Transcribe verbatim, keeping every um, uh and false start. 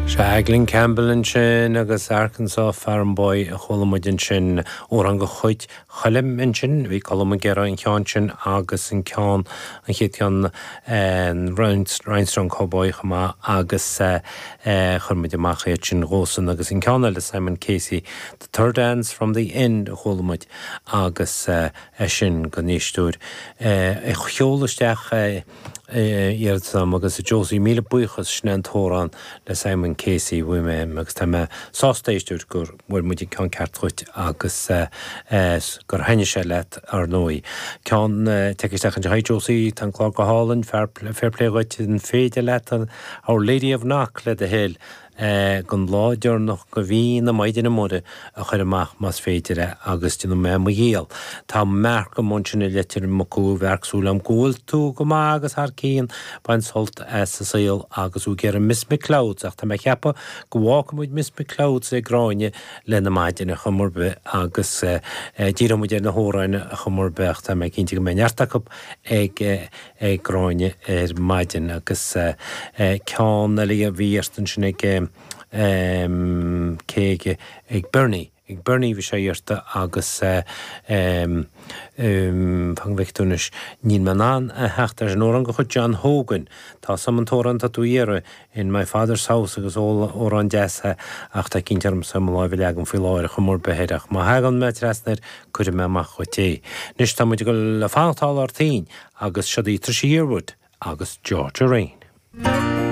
Sea Glen Campbell ansin agus Arkansas Farm Boy a chuala muid ansin amhrán de chuid Choilm ansin, bhí Colm ag iarraidh an ceann sin agus an ceann an chéad cheann Rhinestone Cowboy chomh maith agus chuir muid amach iad sin dhósan agus an ceann eile Simon Casey, The Third Dance from the End a chuala muid agus é sin don éisteoir a sheol isteach iarratas agus Josie míle buíochas sin an t-amhrán le Simon Casey bhí mé agus tá mé sásta éisteoir gur bhfuair muid an ceann ceart dhuit agus gur thaitin sé leat ar ndóigh. Ceann teicteach an Hi Josie tá an clár go hálainn fair play dhuit an féidir leat Our Lady of Knock le do thoil don lá deireanach de mhí na Maighdine Muire a chur amach más féidir é agus déanfaidh mé mo dhícheall. Tá mearc an sin i Leitir Mucú bhearcsúil am go bhfuil tú go maith agus thar cinn bain sult as an saol agus ú ag Miss McClouds ach tá mé ceapadh go bhfágfaidh muid Miss McClouds ag Gráinne le na maidine chumar be agus díreoidh muid ar na hamhráin chumar be ach tá mé cinnte go mbeidh neart acu ag ag Gráinne ar maidin agus ceann eile a bhí ansin ag cé ag Bernie. Ag Bernie bhí sé iarrta agus fan bheic níl mé in ann a theacht ar an amhrán de chuid John Hogan. Tá sam an t-amhrán tá tú iarraidh in my father's house agus amhrán deas ach tá cinnte orm sa láimh leagam faoi láthair chumar beheir ach má thagann mé trasna air cuirfidh mé amach dhuit é. Anois tá muid le fanacht ar toinn agus seo í Trisha Yearwood agus Georgia Rain.